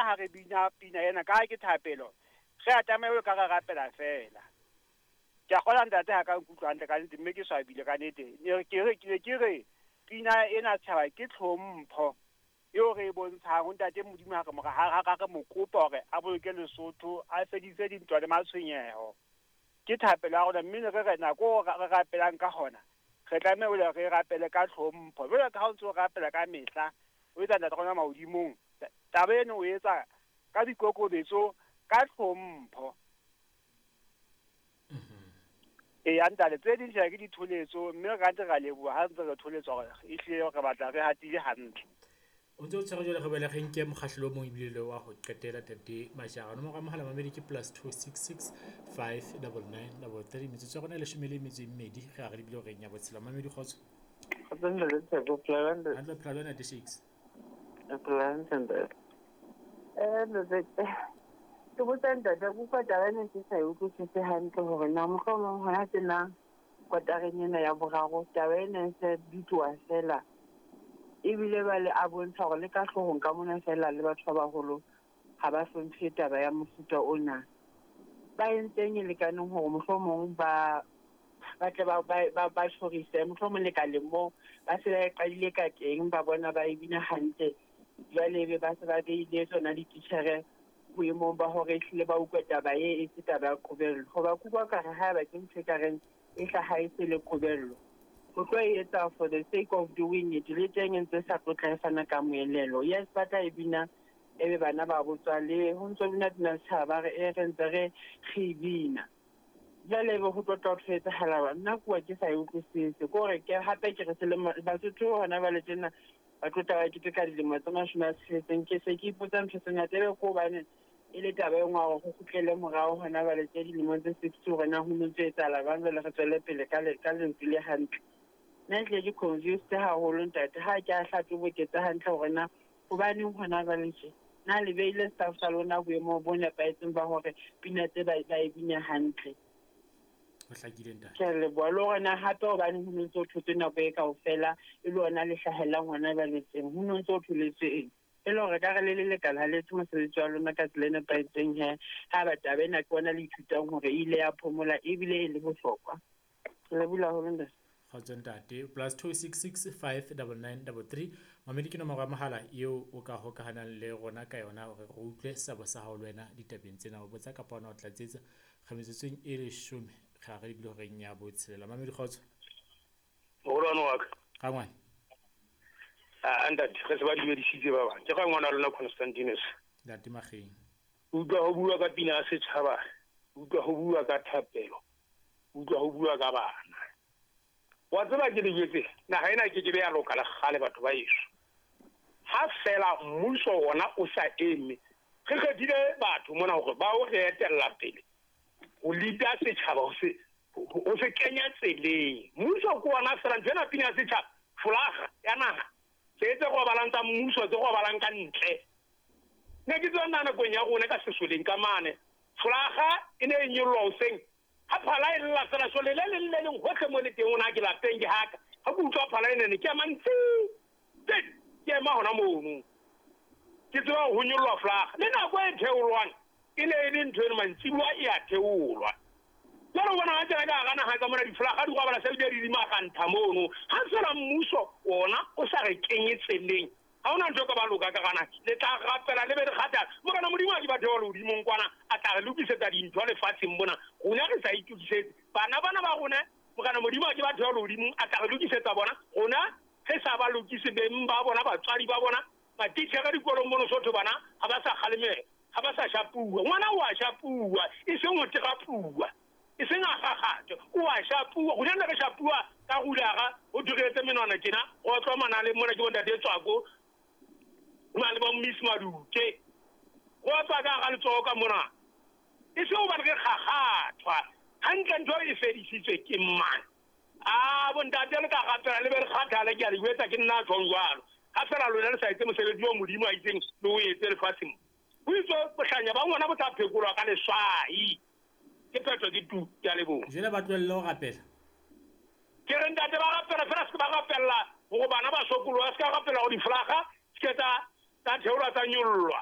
rona ha re bina pina ena ka ha ke thapelo, re a tlameha ka re rapela fela. Ke a kgolwa ntate ha ka nkutlwa hantle ka nnete, mme ke swabile ka nnete. Ne ke re ke ne ke re pina ena setjhaba ke tlhompho eo re e bontshang ho ntate Modimo ha re mo ha re mo kopa hore a boloke Lesotho, a fedise dintwa le matshwenyeho. Ke thapelo ya rona, mme ne re re nako re rapelang ka hona, re tlameha hore re rapele ka tlhompho. Jwalo ka ha o ntso o rapela ka mehla, o etsa ntate rona mahodimong, taba eno o etsa ka boikokobetso, ka tlhompho. Eya ntate, tse ding tjhe ke ditholetso, mme re ntse ra leboha ha ntse re tholetswa hore ehlile re batla re hatile hantle. O ntse o tshwere jwale re boele re nke mokgahlelo o mong ebile le wa ho qetela tate Majara. Nomoro ya mohala mamedi ke +266 599 33. Metsotso ya rona e 12 re a re lebile horeng ya botshela. Mamedi kgotso. Kgotso ntate Tshepo, phela hantle. Hantle phela jwang ntate Shakes? Phela hantle ntate. Ntate, ke botsa ntate, ke utlwa taba ena ke sa e utlwisise hantle hore na mohlomong hona tjena kotareng ena ya boraro taba ena e se bitsoa fela, ebile ba le a bontsha hore le ka hloohong ka mona fela le batho ba baholo ha ba hlomphe taba ya mofuta ona. Ba entseng e lekaneng hore mohlomong ba tle ba tjhorise, mohlomong lekaleng moo ba se ba e qadile ka teng, ba bona ba e bina hantle, jwale ebe ba se ba beile tsona dititjhere boemong ba hore ehlile ba utlwe taba e se taba ya qobello. Hoba ke utlwa ekare haeba ke ntho ekareng e hlaha e se le qobello, o tlo e etsa for the sake of doing it, le teng e ntse sa tlotla e fana ka moelelo. Yes, ba tla e bina ebe bana ba botswa le ho ntso bina pina setjhaba re e re ntse re e bina. Jwale ebe ho tlo tla ho etsahala, nna kuwa ke sa e utlwisise. Ke hore ke hape ke re selemo Basotho hona jwale tjena ba tlotla ba keteka dilemo tse 60, ke se ke ipotsa ntho tse ngata, ebe ke hobane e le taba e nngwe hore ho kgutlele morao hona jwale tje dilemong tse 60 hore na ho no ntso etsahala jwang, jwale re tswele pele ka lentswe le hantle. Nna ehlile ke confused haholo ntate, ha ke a hlatoboketse hantle hore na hobaneng hona jwale tje. Na le beile staff sa lona boemong bo nepahetseng ba hore pina tse ba e bine hantle. Ho hlakile ntate. Ke a leboha. Le hore na hape hobaneng ho no ntso thotswe nako e kaofela e le hona le hlahellang hona jwale teng, ho no ntso tholetswe eng? E le hore ka re le le lekala ha le etse mosebetsi wa lona ka tsela e nepahetseng he, ha ba taba ena ke bona le ithutang hore e ile ya phomola ebile e le bohlokwa. Ke lebohile haholo ntate. Kgotso ntate. +266 599 33. Mamedi ke nomoro ya mohala eo o ka hokahanang le rona ka yona hore re utlwe seabo sa hao le wena ditabeng tsena. O botsa kapa ona o tlatsetsa. Re metsotsong e 10 re a re lebile horeng ya botshelela. Mamedi kgotso. Moholwane wa ka. Rangwane. A ntate, re se ba dumedisitse ba bang. Ke rangwana lona Constantinus. Ntate Mageng. Utlwa ho bua ka pina ya setjhaba, utlwa ho bua ka thapelo, utlwa ho bua ka bana. Wa tseba ke le jwetse, naha ena ke ke be ya loka le kgale batho ba heso. Ha fela mmuso wona o sa eme, re kgethile batho mona hore ba o re etella pele ho leada setjhaba, ho se kenya tseleng. Mmuso ke ona fela ntho ena pina ya setjhaba, folaga ya naha, tse tse robalang tsa mmuso, tse robalang ka ntle. Ne ke tswa nna nakong ya rona ka sesoleng ka mane, folaga e ne e nyollwa hoseng. Ha phala e lla fela sole le leng le leng hohle mo le teng, ona ke lapeng ke haka. Ha ke utlwa phala e nene ke ema ntsi, ke ema hona mono. Ke tseba ho nyollwa folaga. Le nako e theolwang e ne e le ntho eno mantsibuwa e a theolwa. Jwale o bona ha tsena ka hara naha ka mona difolaga di robala se di di magantha mono. Ha fela mmuso ona o sa re kenye tseleng, ha hona ntho e ka ba loka ka gana. Le tla rapela le be le kgathala. Morena Modimo a ke batho ba lehodimong kwana, a tla re lokisetsa dintho lefatsheng mona. Rona re sa itokisetse. Bana bana ba rona, Morena Modimo a ke batho ba lehodimong, a tla re lokisetsa bona. Rona re sa ba lokise beng ba bona, batswadi ba bona, matitjhere dikolong mono Sotho bana ha ba sa kgalemela, ha ba sa shapuwa. Ngwana o a shapuwa, e seng ho terapuwa, e seng a kgakgathe, o a shapuwa. Rona ne re shapuwa ka rulara, ho thwe re etse menwana tjena, re otlwa manaleng mona ke bontate Tswako, ho na le bo Miss Maduke, re otlwa ka hara letsoho ka mona. E seng hobane re kgakgathwa. Hantle ntho e fedisitswe ke mang? A bontate le ka rapela le be le kgathale, ke a le jwetsa ke nna tjhong jwalo. Ha fela lona le sa etse mosebetsi oo Modimo a itseng le o etse lefatsheng. Ho itswe bohlanya ba ngwana bo tla phekolwa ka leswai. Ke phetho ke tu, ke a leboha. Jwale ba tlohelle ho rapela. Ke re ntate ba rapela fela, se ke ba rapella hore bana ba sokoloha, se ka rapela hore difolaga se ke tsa theolwa tsa nyollwa.